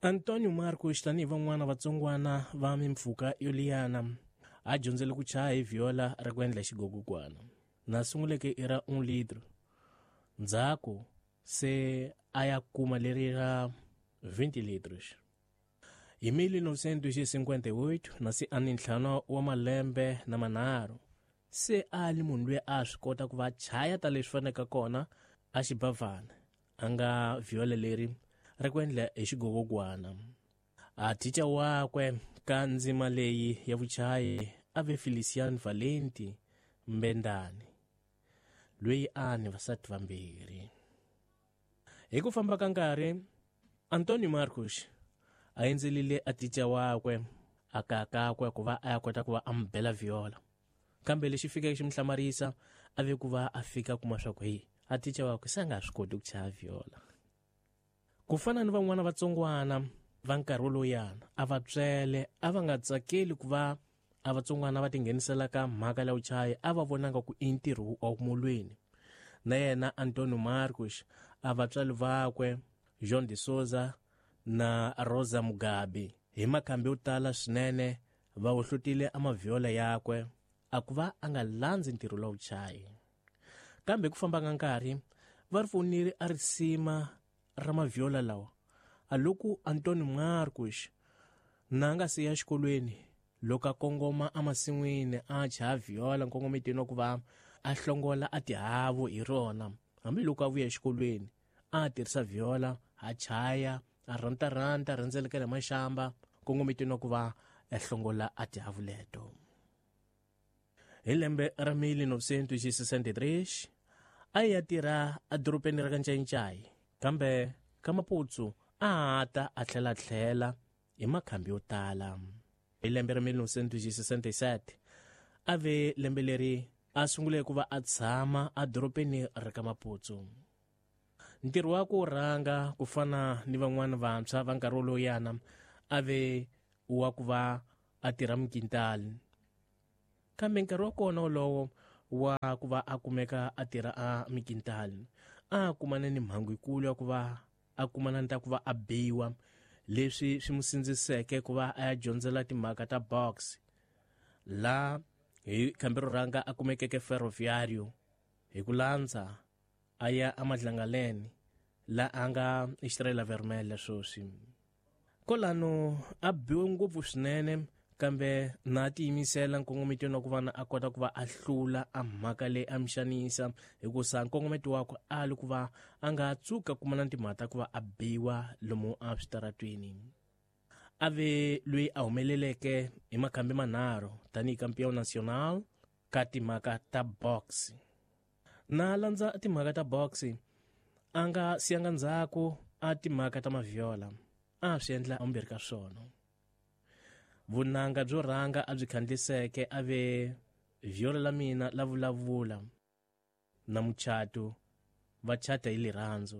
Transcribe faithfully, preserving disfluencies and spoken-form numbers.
Antonio Marcos tanihi van'wana vatsongwana va mimpfhuka yo liyana a dyondzele ku chaya hi viola ra ku endla xigogokwana na sunguleke i ra un litro ndzhaku se a ya kuma leri ra vinte litros. Hi mil novecentos e cinquenta e oito na se a ni ntlhanu wa malembe na manharhu se a li munhu loyi a swi kota ku va chaya ta leswi faneleke kona a xibavana a nga viola leri ra ku endla hi xigogogwana. A thicha wakwe ka ndzima leyi ya vuchayi a ve Feliciano Valenti Mbendani loyi a ni vasati vambirhi. Hi ku famba ka nkarhi Antonio Marcos a endzelile a thicha wakwe a kakakwe ku va a ya kota ku va a n'wi bela viola, kambe lexi fikeke xi n'wi hlamarisa a ve ku va a fika kuma swa ku hi a thicha wakwe se a nga swi koti ku chaya viola. Ku fana ni van'wana vatsongwana va nkarhi wolowuyana a va tswele a va nga tsakeli ku va a vatsongwana va tinghenisela ka mhaka ya vuchayi a va vonanga ku i ntirho wa mulweni. Na yena Antonio Marcos a vatswari vakwe João de Souza na Rosa Mugabe hi makhambi yo tala swinene va hohlotile a maviola yakwe a ku va a nga landzi ntirho lowu vuchayi. Kambe ku famba ka nkarhi va ri fonile a risima ra maviola lawa a loko Antonio Marcos na nga se ya xikolweni loko a kongoma emasin'wini a chaya viola nkongometweni wa ku va a hlongola a tihavu hi rona hambiloko a vuya exikolweni a tirhisa viola a chaya a rantaranta rhendzelekela maxamba nkongometweni wa ku va a hlongola a tihavu leto. Hi lembe ra mil novecentos e sessenta e três a ya tirha edorobeni ra ka Ncayincai kambe ka Maputsu a ta a tlhela tlhela hi makhambi yo tala. Hi lembe ra mil novecentos e sessenta e sete a ve lembe leri a sungule ku va a tshama edorobeni ra ka Maputsu. Ntirho wa ku rhanga ku fana ni van'wana vantshwa va nkarhi wolowuyana a ve wa ku va a tirha mikintali, kambe nkarhi wa kona wolowo wa ku va a kumeka a tirha a mikintali a kumana ni mhangu yikulu ya ku va a kumana ni ta ku va a biwa leswi swi n'wi sindziseke ku va a ya dyondzela timhaka ta box la hi khambi ro rhanga a kumekeke Ferroviário hi ku landza a ya eMadlangaleni la a nga Estrela Vermelha sweswi. Kolano a biwe ngopfu swinene kambe na tiyimisela nkongometweni wa ku va na a kota ku va a hlula a mhaka leyi a mi xanisa hikusa nkongometo wakwe a li ku va a nga tsuka kumana timhaka ta ku va a biwa lomu a switaratweni. A ve loyi a humeleleke hi makhambi manharhu tanihi campeão nacional ka timhaka ta box. Na landza timhaka ta box a nga siyanga ndzhaku a timhaka ta maviola a swi endla ambirhi ka swona. Vunanga byo rhanga a byi khandliseke a ve viola la mina la vulavula na muchato va chata hi lirhandzu.